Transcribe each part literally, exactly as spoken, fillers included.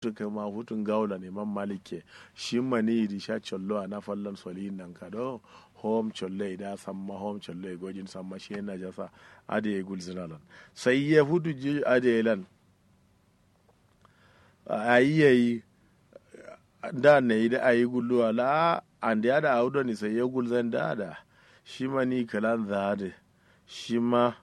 Futu kǝma futu ngawulan imam malik ye. Shi maniyi dǝ sha collo ana fallan soliyin nankado. Hom collo ye da samma hom collo ye gojin samma shi ye najasa. Adǝ ye gulzǝna lan sai ye futu ji adǝ ye lan. Ayi yayi. Nda nayi dǝ ayi gulluwa la. Ande ada awu doni sai ye gulzan da ada. Shi maniyi kǝlan za adǝ. Shima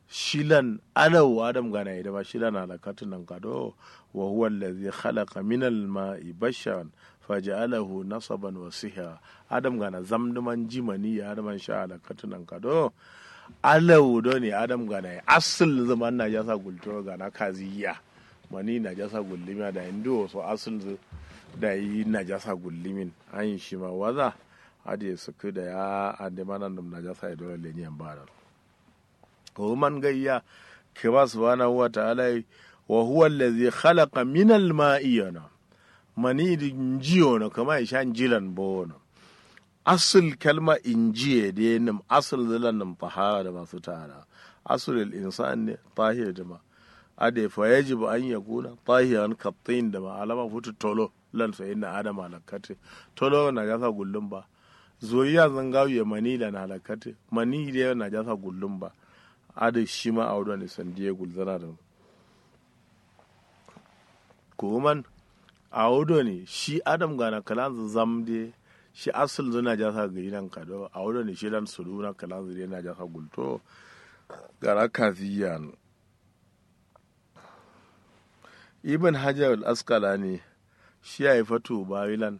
shilan alawu adam ganaye dǝma shilan alakkatǝ nankado. Wa huwa allazi khalaqa minal ma'i basharan faja'alahu nasaban wa sihra. Adam gana zam dǝman ji maniyi adǝman sha alakkatǝ nankado. Alawu doni adam ganaye asǝl dǝman najasa gulto gana kaziya. Maniyi najasa gullimiya dayi nduwo so asǝl dǝ dayi najasa gullimin. Ayin shima waza. Adǝ ye sǝkkǝ dayi a ande manandǝm najasa ye dole leniyan badan. Koman gayya. Kǝma subhanahu wa ta'ala yi. Wa huwa allazi khalaqa minal ma'i yono. Maniyi dǝ nji yono kǝma ye sha njilan bo wono. Asǝl kalma inji ye dǝ nǝm asǝl dǝ lan nǝm tahara dǝma sutana. Asǝl insan ne tahir dǝma. Adǝ ye fa yajibu an yakuna tahiran kattin dǝma alama futu tolo. Lan so inna adama lakkatǝ. Tolo najasa gullum ba. Zoyiya zǝngawu ye maniyi lan alakkatǝ maniyi dǝ ye najasa gullum ba. Adǝ shima awu doni sandi ye gulzǝna dǝ. Kuman. Awu doni shi adam gana kǝlanzǝ zam dǝ ye. Shi asǝl dǝ najasa gǝyi nankado awu doni shilan suduna kǝlanzǝ dǝ ye najasa gulto. Gana kaziya no. Ibn hajar al askalani. Shi yayi fatu bawilan.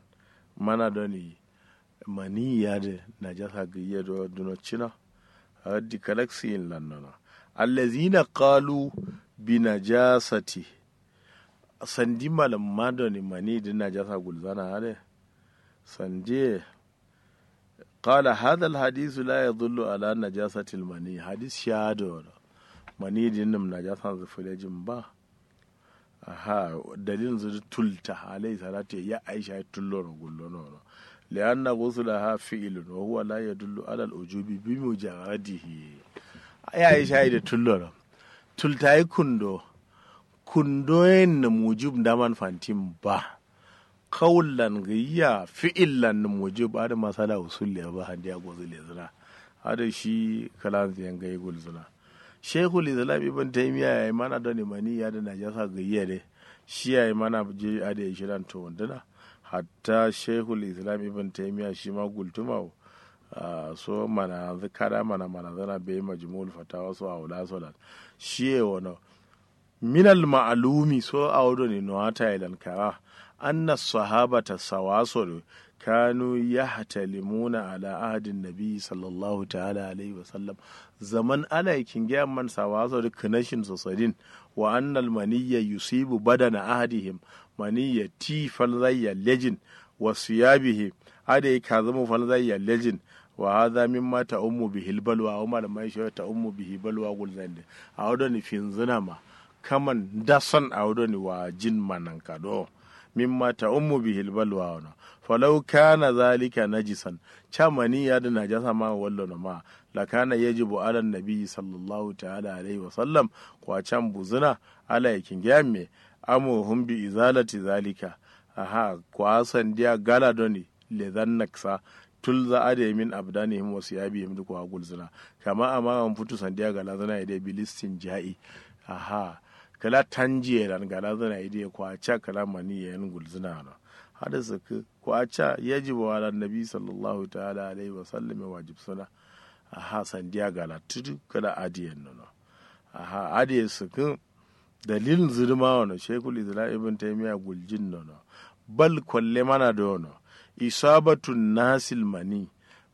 Mana doni maniyi adǝ najasa gǝyi ye do duno cina. Raddi kalak siyin lan nono. Allazina qalu bi najasati. Sandi malǝmma doni maniyi dǝ najasa gulzana adǝ. Sandi ye. Qala hadha alhadisu la yadullu ala najasati almani hadis shi adǝ wono. Maniyi dǝ nǝm najasanzǝ fǝlejin ba. Aha. Dalilnzǝ dǝ tulta alayhi salatu ye ya aisha ye tullono gullono wono. Li'anna guslaha fi'lun wa huwa la yadullu ala alwujubi bi mujarradihi. Ya aisha ye dǝ tullono. Tulta ye kundo. Kundo yen nǝm wujub ndaman fantin ba. Kawul lan gǝyiya fi'il lan nǝm wujub adǝ masala usul le ba handiya gozǝ lezǝna. Adǝ shi kǝlanzǝ ye ngai gulzǝna. Shaikhul islam ibn taymiya yayi mana doni maniyi adǝ najasa gǝyiya dai. Shi yayi mana ji adǝ ye shilan towandǝna. Hatta shaikhul islam ibn taymiya shima gultuma wo. So mananzǝ kada mana mananzǝna beyi majmu'ul fatawa so awula so lan. Shi ye wono. Minal ma'alumi so awo done nowata ye lan kara. Anna sahabata sawaso do kanu yahtalimuna ala ahadin nabi sallallahu ta'ala alaihi wasallam. Zaman alaye kinge amman sawaso do kǝnashin so sadin. Wa annal maniyya yusibu badana ahadihim. Maniyya ti falzaiya lejin. Wa siyabihim. Adai kazumu falzaiya lejin. Wa haza mimma ta'ummu bihil balwa awo malamaye shiro ta'ummu bihi balwa gulzande. Awo done finzǝna ma. Kaman ndason awo done wajin ma nankado. Mimma ta'ummu bihil balwa wono. Falau kana zalika najisan. Ca maniyya dǝ najasa ma wallono ma. Lakana yajibu alan nabi sallallahu ta'ala alaihi wasallam. Kwa can buzǝna. Alaye kinge amme. Amuruhum bi izalati zalika. Aha kwa sandiya gala done. Lezan naksa. Tulza adai min abdanihim wa siyabihim dǝ kwa gulzǝna. Kama amara nfutu sandiya galazǝna ye dai bilistin ja'i. Aha. Kǝla tanji ye lan galazǝna ye dai kwa ca kǝla maniyye yen gulzǝna no. Adǝ sǝkkǝ kwa ca yajibu alan nabi sallallahu ta'ala alaihi wasallam ye wajibsǝna. Aha sandiya galattǝ dǝ kǝla adǝ yen nono. Aha adǝ ye sǝkkǝ. Dalilnzǝ dǝma wono shekul islam ibn taimiya guljin nono. Bal kolle mana dǝ wono. Isabatun nasil mani.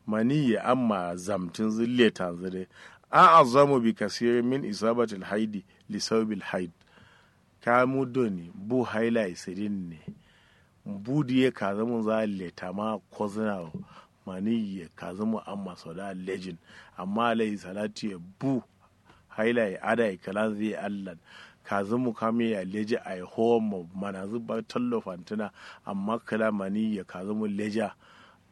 Maniyye amma zamtǝnzǝ letanzǝ dǝ. A'azamu bi kasirin min isabatil haidi. Li saubil haid. Kamu done bu hailaye sǝdin ne. Bu dǝ ye kazumunza letama kozǝna wo. Maniyye kazumu amma soda lejin. Amma alaihi salatu ye bu. Hailaye adai kǝlanzǝ ye allan. Kazumu kamiya leji ai howommo manazǝ ba tallo fantǝna. Amma kǝla maniyye kazumu leja.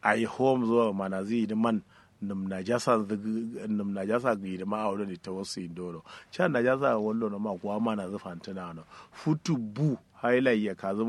Ai howomzo manazǝ ye dǝ man. Nǝm najasa gǝyi dǝma awo done tawassu yin doro ca najasa wallono ma kuwa manazǝ fantǝna no. Futu bu hailai ya kazǝ.